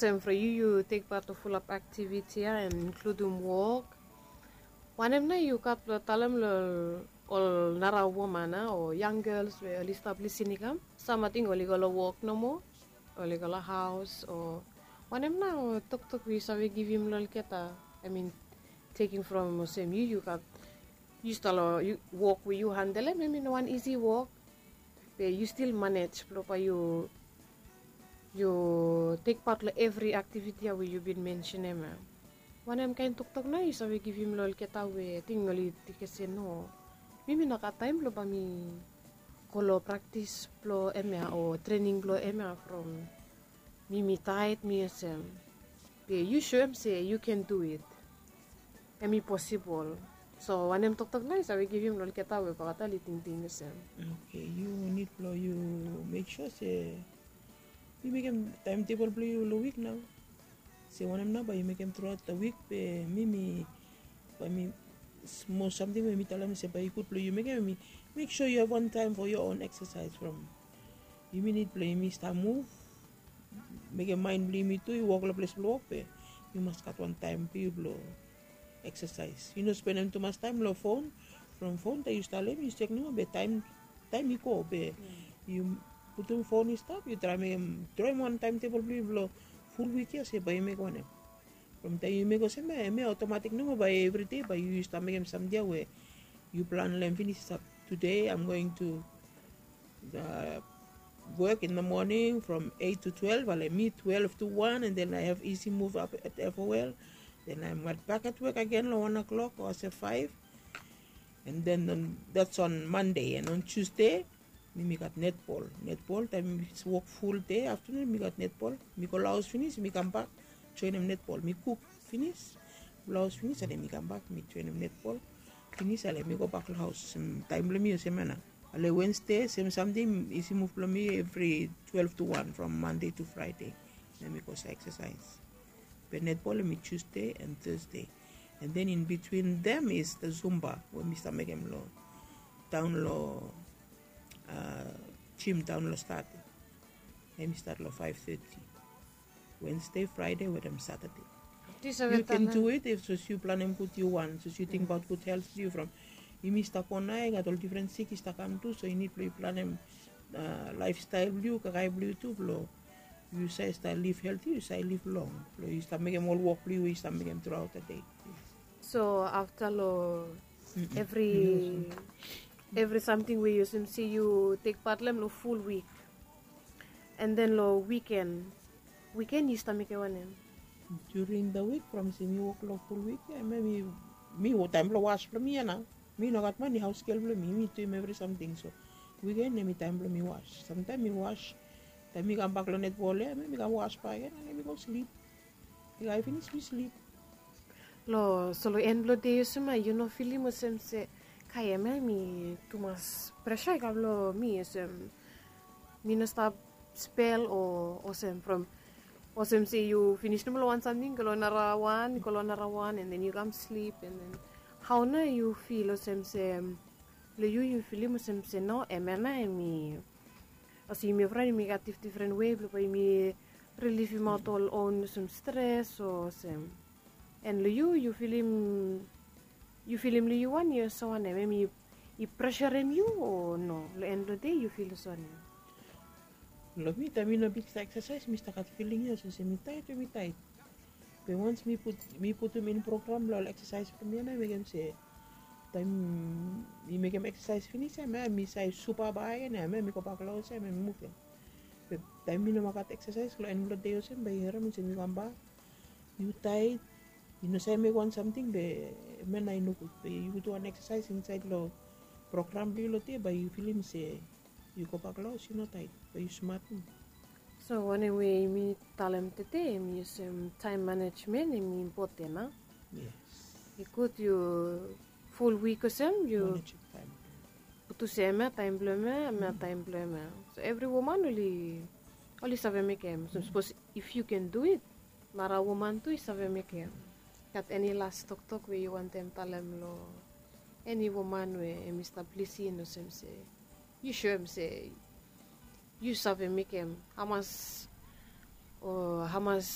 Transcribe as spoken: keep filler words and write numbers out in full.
Sem from yu yu tek pat long fulap aktiviti ya, inkludim wok. Wanem nao yu gat blong talem long ol nara woman o yang gels we oli stap lisin i kam? Sam ating oli go long wok nomo, oli go long haos, o wanem nao toktok we yu save givim long olgeta? I mean, teking from olsem yu yu gat, yu stap long wok we yu handelem, hemi no wan isi wok. Be yu stil manej blong bae yu yu tek pat long evri aktiviti ya we yu bin mensenem ya. Wanem kaen toktok nao yu save givim long olgeta we ating oli tingting se no, mi mi no gat taem blong bae mi go long praktis blong hemia o trening blong hemia from mi mi taet mi olsem. Be yu soem se yu ken du it. Hemi posibol. So wanem toktok nao yu save givim long olgeta we bakata oli tingting olsem? Oke, yu nid blong yu mek sua se yu mekem taemtebol blong yu long wik nao. Se wanem nao bae yu mekem truaot long wik, be mi mi bae mi, mos samting we mi talem se bae i gud blong yu mekem, mi mek sua yu have wan taem fo yo on eksasaes from yumi nid blong yumi stap muv, mekem maen blong yumi tu i wok long ples blong wok, be yu mas gat wan taem blong yu blong eksasaes. Yu no spenem tumas taem long fon. From fon taem yu stalem yu sek nomo be taem taem i go be yu putum fon i stap, yu traem mekem, droem wan taemtebol blong yu blong ful wik ya se bae yu mekem wanem. From taem yu mekem olsem ya, hemia otomatik nomo bae evri dei bae yu stap mekem samting ya we yu plan long hem finis, stap, today I'm going to uh, work in the morning from eight to twelve, ale mi twelve to one, and then I have easy move up at F O L. Then I'm right back at work again long one o'clock or se five. And then on, that's on Monday, and on Tuesday mi mi gat netbol. Netbol taem mi wok ful dei aftenun mi gat netbol. Mi go long haos finis mi kambak joenem netbol. Mi kuk finis, long haos finis, ale mi kambak mi joenem netbol. Finis ale mi gobak long haos. Taem blong mi olsem ya nao. Ale Wednesday sem samting, isi muv blong mi evri twelve to one from Monday to Friday. Nao mi go stap eksasaes. Be netbol hemi Tuesday and Thursday. And then in between them is the Zumba we mi stap mekem long taon long jim taon long Stade. Hemi stat long five thirty Wednesday, Friday wetem Saturday. Yu ken du it if sapos yu planem gud yu wan, sapos yu tingbaot gud helt blong yu from yumi stap go nao i gat ol difren sik i stap kam tu, so yu nid blong yu planem laefstael blong yu, kakae blong yu tu blong yu save stap liv helti, yu save liv long, blong yu stap mekem ol wok blong yu we yu stap mekem truaot the dei. So afta long evri evri samting we yu olsem se yu tek pat long hem long ful wik, and then long wiken, wiken yu stap mekem wanem? During the week from se mi wok long ful wik ya, hemia mi, mi taem blong was blong mi ya nao. Mi no gat mani, haos gel blong mi, mi duim evri samting. So wiken hemi taem blong mi was. Samtaem mi was, taem mi kambak long netbol ya hemia mi kam was bakegen, ale mi go slip. Kakae finis mi slip. Long, so long en blong dei olsem ya yu no filim olsem se, kakae hemia hemi tumas presa i kam long mi olsem mi no stap spel o olsem from olsem se yu finis nomo long wan samting, go long narawan, go long narawan, and then yu kam slip, and then hao nao yu fil olsem se long yu yu filim olsem se no, hemia nao hemi olsem yumi evriwan yumi gat difdifren wei blong bae yumi rilivim aot ol on olsem stres o olsem. And long yu yu filim, yu filim long yu wan yu olsem wanem, hemi i presarem yu o no? Long en blong dei yu fil olsem wanem? Long mi taem mi no bin stap eksasaes mi stap gat filing ya olsem se mi taet o mi taet. Be wans mi put, mi putum in program long ol eksasaes blong mi ya nao i mekem se taem mi mekem eksasaes finis ya hemia mi save supa bakegen ya hemia mi gobak long haos ya hemia mi muvim. Be taem mi no moa gat eksasaes long en blong dei olsem bae yu harem olsem yu kambak yu taet, yu no save mekem wan samting, be hemia nao i nogud. Be yu putum wan eksasaes insaed long program blong yu long dei bae yu filim se yu gobak long haos yu no taet, bae yu smat. So wanem we yumi talem tede hemi olsem taem manejmen hemi impoten a. Yes. I gud yu ful wik olsem yu putum se hemia taem blong hemia, hemia taem blong hemia. So evri woman oli, oli save mekem. So sapos if yu ken du it, nara woman tu i save mekem. Gat eni las toktok we yu wantem talem long eni woman we hemi stap lisin olsem se yu soem se yu save mekem hamas o hamas